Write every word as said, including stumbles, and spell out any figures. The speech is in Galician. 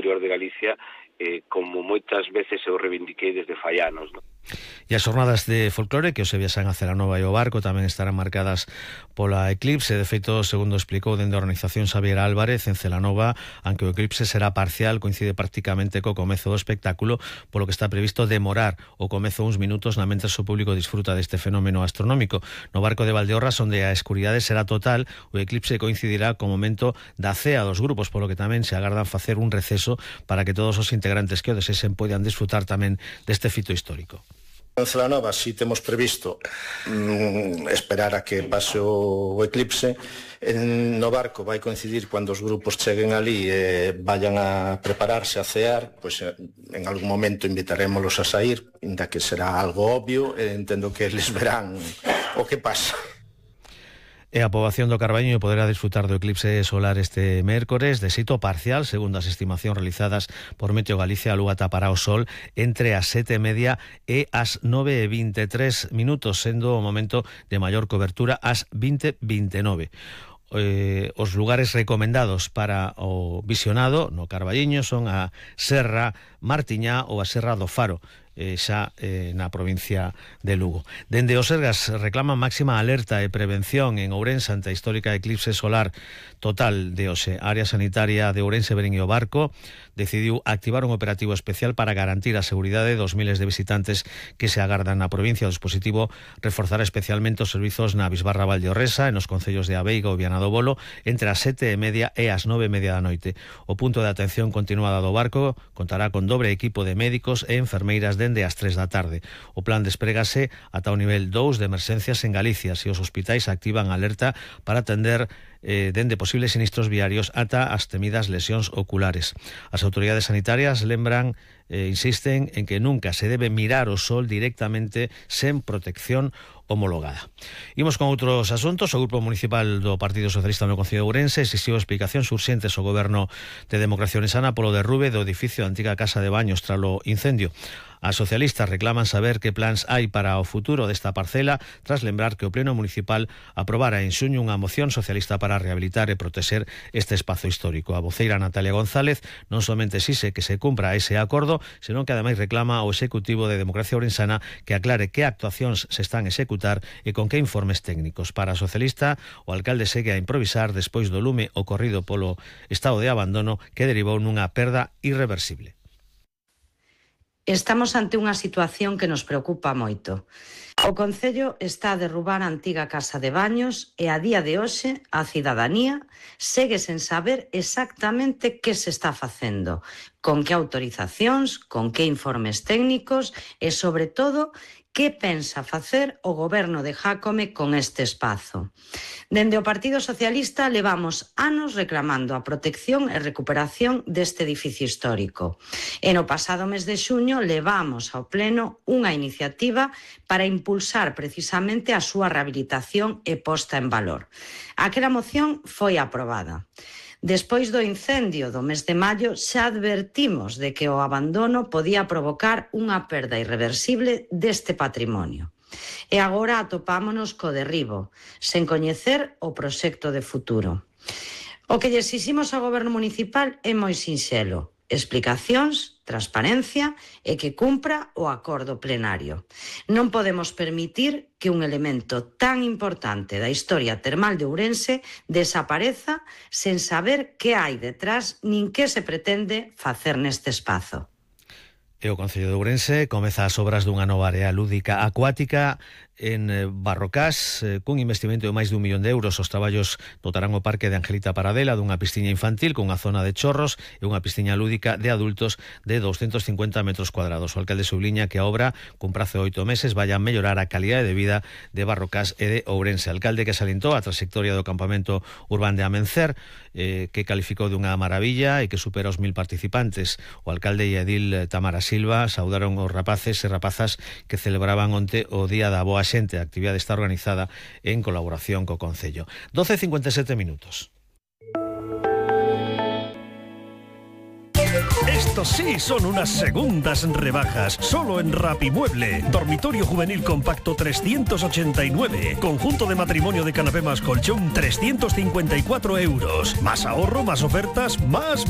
interior de Galicia, eh, como moitas veces eu reivindiquei desde fai anos, non? E as jornadas de folclore que hoxe viaxan a Celanova e o Barco tamén estarán marcadas pola eclipse. De feito, segundo explicou dende a organización Xavier Álvarez, en Celanova, aunque o eclipse será parcial, coincide prácticamente co comezo do espectáculo, polo que está previsto demorar o comezo uns minutos na mentres o público disfruta deste fenómeno astronómico. No Barco de Valdeorras, onde a escuridade será total, o eclipse coincidirá co momento da cea dos grupos, polo que tamén se agardan facer un receso para que todos os integrantes que o desexen poidan disfrutar tamén deste fito histórico. En Celanova si temos previsto mm, esperar a que pase o eclipse. En, no Barco vai coincidir cando os grupos cheguen ali e eh, vayan a prepararse a cear, pois eh, en algún momento invitarémolos a sair, inda que será algo obvio, e entendo que eles verán o que pasa. E a poboación do Carballiño poderá disfrutar do eclipse solar este mércores de xeito parcial, segundo as estimacións realizadas por Meteo Galicia. A lúa tapará o sol entre as sete e media e as nove e vinte e tres minutos, sendo o momento de maior cobertura ás vinte e vinte e nove. Eh, os lugares recomendados para o visionado no Carballiño son a Serra Martiñá ou a Serra do Faro, eh, xa eh, na provincia de Lugo. Dende o Sergas reclaman máxima alerta e prevención en Ourense ante a histórica eclipse solar total de hoxe. A área sanitaria de Ourense, Berén e o Barco decidiu activar un operativo especial para garantir a seguridade dos miles de visitantes que se agardan na provincia. O dispositivo reforzará especialmente os servizos na Bisbarra Valdeorresa e nos concellos de Abeiga ou Viana do Bolo entre as sete e media e as nove e media da noite. O punto de atención continuada do Barco contará con dobre equipo de médicos e enfermeiras dende as tres da tarde. O plan desprégase ata o nivel dous de emerxencias en Galicia, se os hospitais activan alerta para atender eh, dende posibles sinistros viarios ata as temidas lesións oculares. As autoridades sanitarias lembran, eh, insisten en que nunca se debe mirar o sol directamente sen protección homologada. Imos con outros asuntos. O Grupo Municipal do Partido Socialista no Concello de Ourense exixiu explicacións urxentes ao Goberno de Democracia Ourensana polo derrube do edificio da antiga Casa de Baños tralo incendio. As socialistas reclaman saber que plans hai para o futuro desta parcela, tras lembrar que o Pleno Municipal aprobara en xuño unha moción socialista para rehabilitar e protexer este espazo histórico. A voceira Natalia González non somente exixe que se cumpra ese acordo, senón que ademais reclama ao Executivo de Democracia Ourensana que aclare que actuacións se están a executar e con que informes técnicos. Para a socialista, o alcalde segue a improvisar despois do lume ocorrido polo estado de abandono que derivou nunha perda irreversible. Estamos ante unha situación que nos preocupa moito. O Concello está a derrubar a antiga Casa de Baños e a día de hoxe a cidadanía segue sen saber exactamente que se está facendo, con que autorizacións, con que informes técnicos e, sobre todo, que pensa facer o Goberno de Jácome con este espazo. Dende o Partido Socialista levamos anos reclamando a protección e recuperación deste edificio histórico. E no pasado mes de xuño levamos ao Pleno unha iniciativa para impulsar precisamente a súa rehabilitación e posta en valor. Aquela moción foi aprobada. Despois do incendio do mes de maio xa advertimos de que o abandono podía provocar unha perda irreversible deste patrimonio. E agora atopámonos co derribo, sen coñecer o proxecto de futuro. O que lle exiximos ao Goberno Municipal é moi sinxelo: explicacións, transparencia e que cumpra o acordo plenario. Non podemos permitir que un elemento tan importante da historia termal de Ourense desapareza sen saber que hai detrás nin que se pretende facer neste espazo. E o Concello de Ourense comeza as obras dunha nova área lúdica acuática en Barrocás, cun investimento de máis de un millón de euros. Os traballos dotarán o Parque de Angelita Paradela dunha piscina infantil cunha zona de chorros e unha piscina lúdica de adultos de doscientos cincuenta metros cuadrados. O alcalde subliña que a obra, cun prazo de oito meses, vai a mellorar a calidade de vida de Barrocás e de Ourense. Alcalde que salientou a trayectoria do campamento urbán de Amencer, eh, que calificou dunha maravilla e que supera os mil participantes. O alcalde e edil Tamara Silva saudaron os rapaces e rapazas que celebraban onte o Día da Boa Xente. A actividade está organizada en colaboración co Concello. doce e cincuenta e sete minutos. Estos sí son unas segundas rebajas, solo en Rapimueble. Dormitorio juvenil compacto trescientos ochenta y nueve. Conjunto de matrimonio de canapé más colchón trescientos cincuenta y cuatro euros. Más ahorro, más ofertas, más